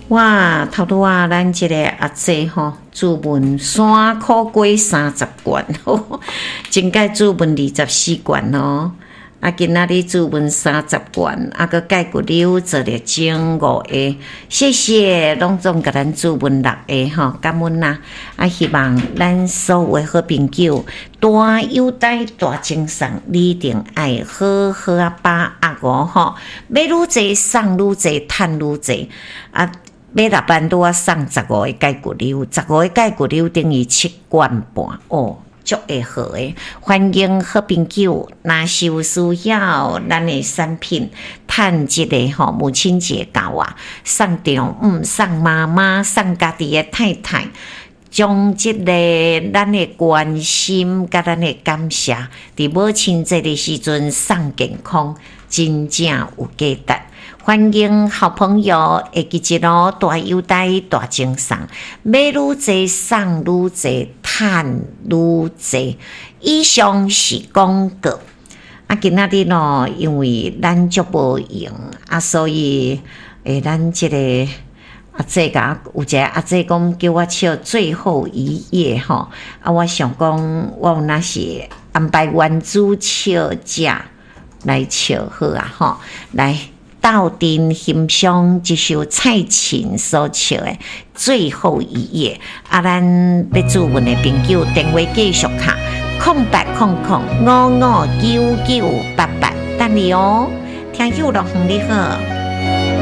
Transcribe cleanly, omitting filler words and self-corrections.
哇，頭拄仔咱這个阿姐吼，注文山苦瓜30罐，前擺注文24罐哦。啊，今仔日注文三十罐，啊，閣蓋骨溜做了整五个，謝謝攏總共咱注文六个吼，感恩啦！啊，希望咱所有的好朋友，大優待大贈送，你一定愛好好仔把握哦吼，買愈濟送愈濟，趁愈濟啊！買6萬拄仔送十五个蓋骨溜，十五个蓋骨溜等於7罐半哦。足會好的，歡迎好朋友，若是有需要咱的產品，趁這个吼母親節到啊，送丈母、送媽媽、送家己的太太，將這个咱的關心佮咱的感謝，佇母親節的時陣送健康，真正有價值。歡迎好朋友會記得哦，大優待大贈送，買愈濟送愈濟，趁愈濟。以上是廣告。啊，今仔日咯，因為咱足無閒啊，所以咱這个阿姐共有一個阿姐講叫我唱最後一頁吼，啊，我想講我有若是安排原主唱者來唱好啊吼，來。鬥陣欣賞這首蔡琴所唱的《最後一頁》。啊，咱欲注文的朋友電話繼續敲0800559988，等你哦。聽友樂園你好。